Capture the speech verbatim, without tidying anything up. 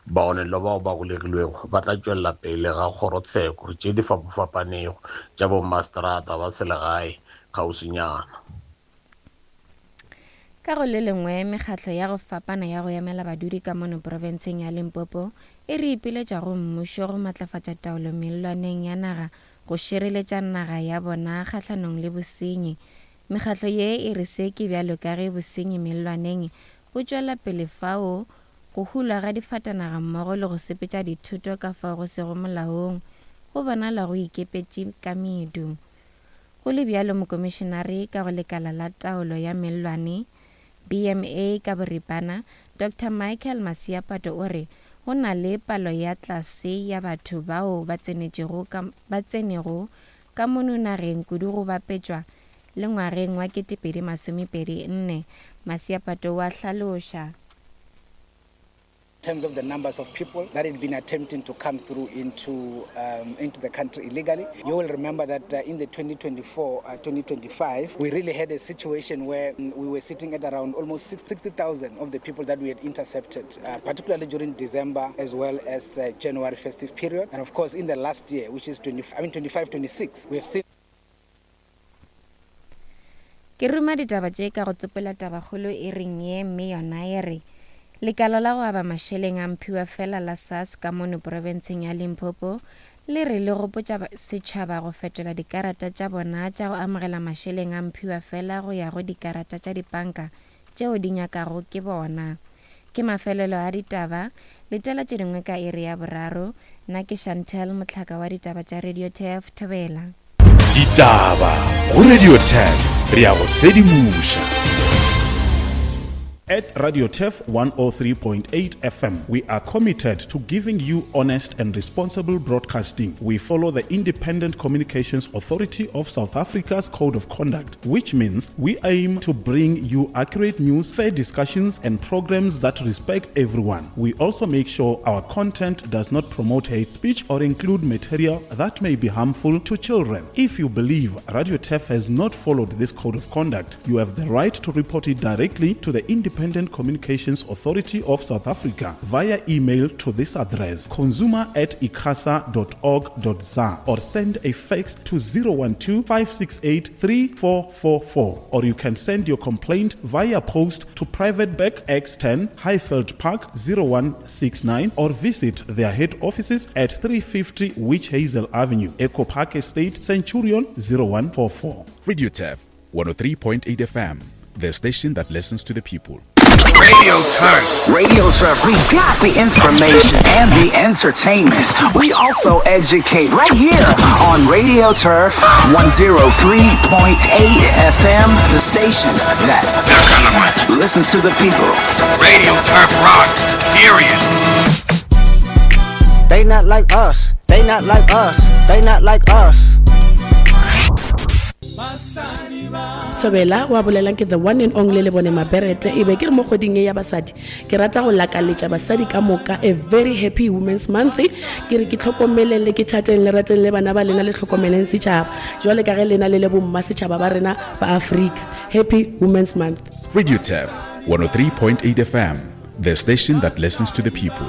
Bagonelwa bao ba golegilwego ba tla tšwelela pele ga kgorotsheko tše di fapafapanego tša bomaseterata ba selegae kgauswinyana. Ka go le lengwe, mekgatlo ya go fapana ya go emela badudi ka mono profenseng ya Limpopo e re ipiletša go mmušo go matlafatša taolo mellwaneng ya naga go šireletša naga ya bona kgahlanong le bosenyi. Mekgatlo ye e re se ke bjalo ka ge bosenyi mellwaneng bo tšwela pele fao go hulwa ga difatanaga mmogo le go sepetša dithoto ka fao go sego molaong go bonala go ikepetše ka medu. Go le bjalo, mokomišenare ka go lekala la taolo ya mellwane B M A ka boripana, Doctor Michael Masiapato o re go na le palo ya tlase ya batho bao ba tsenetšego ka, ba tsenego ka mono nageng kudu go bapetšwa le ngwageng wa ketepedi masomepedi nne. Masiapato wa hlaloša. In terms of the numbers of people that had been attempting to come through into, um, into the country illegally. You will remember that uh, in the twenty twenty-four, twenty twenty-five, we really had a situation where we were sitting at around almost sixty thousand of the people that we had intercepted, uh, particularly during December as well as uh, January festive period. And of course, in the last year, which is twenty, I mean twenty-five twenty-six, we have seen. Ke ruma ditaba tše ka go tsopola tabakgolo e reng ye, mme yona e re lekala la go aba mašeleng a mphiwa fela la S A S ka mono profenseng ya Limpopo le re le gopotša setšhaba go fetola dikarata tša bona tša go amogela mašeleng a mphiwa fela go ya go dikarata tša dipanka tšeo di nyakago ke bona. Ke mafelelo a ditaba, letela tše dingwe ka iri ya boraro. Nna ke Chantel Motlhaka wa ditaba tša Radio T F Thobela. Ditaba go Radio T F, re ya go sedimoša. At Radio T F one oh three point eight F M, we are committed to giving you honest and responsible broadcasting. We follow the Independent Communications Authority of South Africa's Code of Conduct, which means we aim to bring you accurate news, fair discussions, and programs that respect everyone. We also make sure our content does not promote hate speech or include material that may be harmful to children. If you believe Radio T F has not followed this Code of Conduct, you have the right to report it directly to the Independent Communications Authority of South Africa via email to this address, consumer at icasa dot org dot za, or send a fax to zero one two, five six eight, three four four four, or you can send your complaint via post to Private Bag X ten, Highveld Park zero one six nine, or visit their head offices at three fifty Witch Hazel Avenue, Echo Park Estate, Centurion zero one four four. Radio T F one oh three point eight F M, the station that listens to the people. Radio Turf. Radio Turf. We got the information and the entertainment. We also educate right here on Radio Turf one oh three point eight F M, the station that listens to the people. Radio Turf rocks, period. They not like us. They not like us. They not like us. Thobela wa bolelang ke the one and only le bone Maberete e be ke re mo kgweding ya basadi ke rata go lakaletša basadi ka moka a very happy women's month. Ke re ke tlhokomeleng le ke thateng le rateng le bana ba lena le tlhokomeleng setšhaba jwale ka ge lena le le bomma setšhaba ba rena ba Afrika. Happy Women's Month. Radio T F one oh three point eight F M, the station that listens to the people.